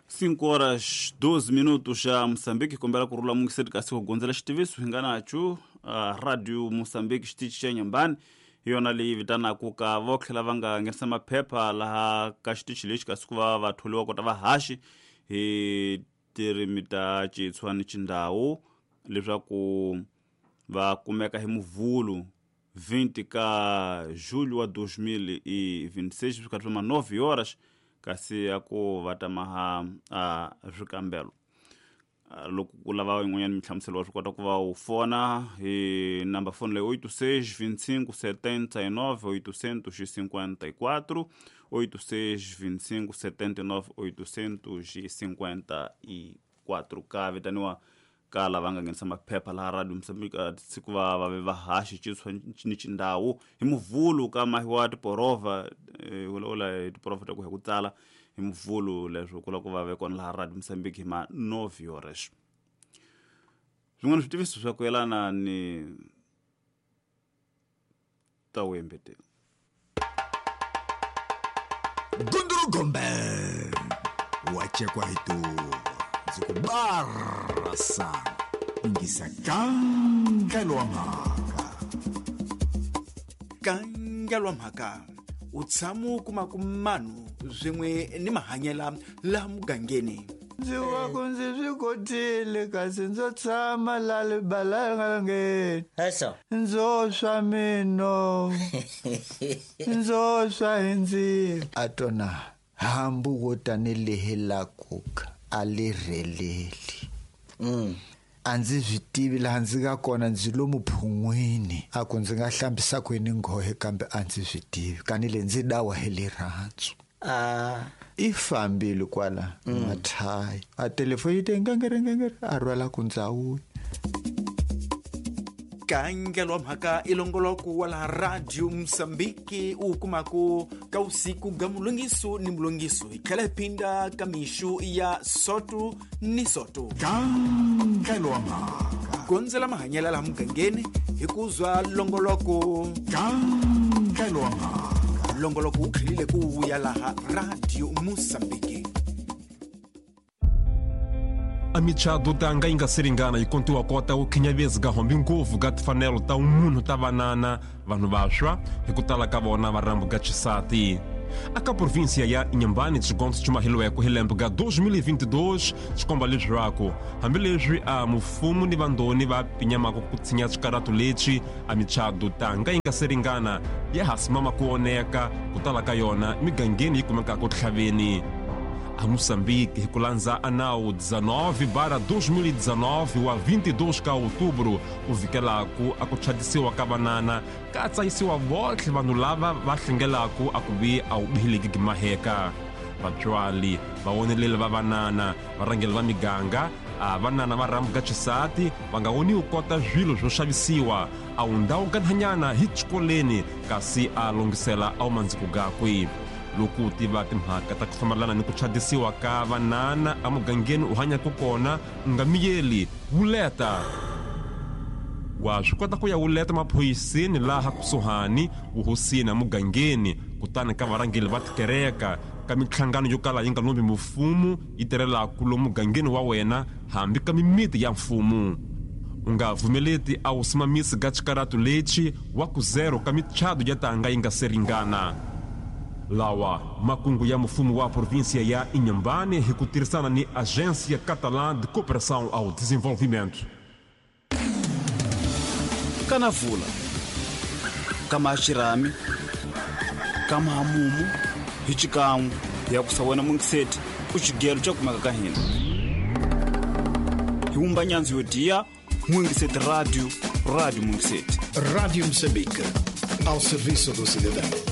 5 horas 12 minutos xa Moçambique, kombela ku rula mungiseti kasi ku gondzela xitiviso hi nga nacho Radio Moçambique xitichi xa Nyambani hi yona leyi vitanaku ka vo tlhela va nga nghenisa maphepha laha ka xitichi lexi kasi ku va va tholiwa kota vahaxi hi tirimi ta Xitswa ni Xindhawu leswaku va kumeka hi Muvhulu 20 ka julho wa 2026 swi kha swi ma 9 horas kasi a ku va ta maha a swikambelo. Loko ku lava yin'wanyana minhlamuselo wa swi kota ku va u fona hi number phone leyi 86 25 79 854 86 25 79 854 ka vitaniwa ka lava nga nghenisa maphepha laha Radio Moçambique siku va va ve vahaxi Xitswa ni Xindhawu hi Muvhulu ka mahiwa tiporova vulavula hi tiporova ta ku hi ku tsala hi Muvhulu leswo ku lava ku va ve kona laha Radio Moçambique hi ma 9 horas. Swin'wana switiviso swa ku yelana ni ta wembeteni. Gunduru Gombe wachekwa hituva ndzi ku barasa yingisa nkangelo wa mhaka. Nkangelo wa mhaka u tshama u kuma ku manu swin'we ni mahanyela laha mugangeni. Ndzi wa ku ndzi swi kotile kasi ndzo tshama la libalangeni. Eso. Ndzo swa mino. Ndzo swa hi ndzilo. A tona hambu wo tanihi la kuka a li rheleli. A ndzi swi tivi laha ndzi nga kona, ndzi lomu phun'wini. A ku ndzi nga hlambisa kwini nghohe kambe a ndzi swi tivi. Kani le ndzi dawa hi rirhandzu. I fambile kwala mathayi. A telefoni yi te ngengere ngengere a rhwala ku ndzawuya. Nkangelo wa mhaka i longoloko wa laha Radio Moçambique u kumaka ka usiku ga mulongiso ni mulongiso hi tlhela hi phinda ka mixu ya soto ni soto. Nkangelo wa mhaka. Gondzela mahanyela laha mugangeni hi ku zwa longoloko. Nkangelo wa mhaka. Longoloko wu tlhelile ku vuya laha Radio Moçambique. A michado tanga yi nga se ringana yi kontiwa kota ku khinyavezi ka hombi ngopfu ka timfanelo ta munhu ta vanana vanhu vantshwa hi ku tala ka vona va rhambu ka xisati. Aka província ya Inhambane xigondzo xi maheliweke hi lembe ka 2022 xi komba leswaku hambileswi a mufumo ni vandoni va pinyamaka ku tshinya xikaratu lexi a michado tanga yi nga se ringana ya ha simama ku oneka ku tala ka yona migangeni yi kumekaka tlhaveni. A Moçambique hi ku landza a nawu 19/2019 wa 22 ka outubro u vhikelaku a ku chadisiwa ka vanana ka tsayisiwa votlhe vanhu lava va hlengelaku a ku vi a wu bihileki gimaheka. Vatswali vawoneleli va vanana varhangeli va miganga a vanana va rhambuka xisati va nga woniwi kota swilo swo xavisiwa a wu ndhawu kanhanyana hi xikoleni kasi a longhisela a wu mandziko gakwe. Loko u tiva timhaka ta ku fambelana ni ku chadisiwa ka vanana emugangeni u hanyaka kona u nga miyeli wuleta. Wa swi kota ku ya wuleta maphoyiseni laha kusuhani vuhosini emugangeni kutani ka varhangeli va tikereka ka minhlangano yo kala yi nga lombi mfumo yi tirhelaka lomu mugangeni wa wena hambi ka mimiti ya mfumo. U nga pfumeleti a wu simamisi ka xikaratu lexi wa ku zero ka michado ya tanga yi nga se ringana. Lawa makungu ya mfumo wa província ya Inhambane hi ku tirhisana ni Agência Catalã de Cooperação ao Desenvolvimento. Kana vula kama xirhami kama hamumu hi xikan'we ya ku sa wena mungiseti u xigelo xa kumeka ka hina. Hi wumba nyandzu yo diya Mungiseti Radio, Radio Mungiseti. Rádio Moçambique, ao serviço do cidadão.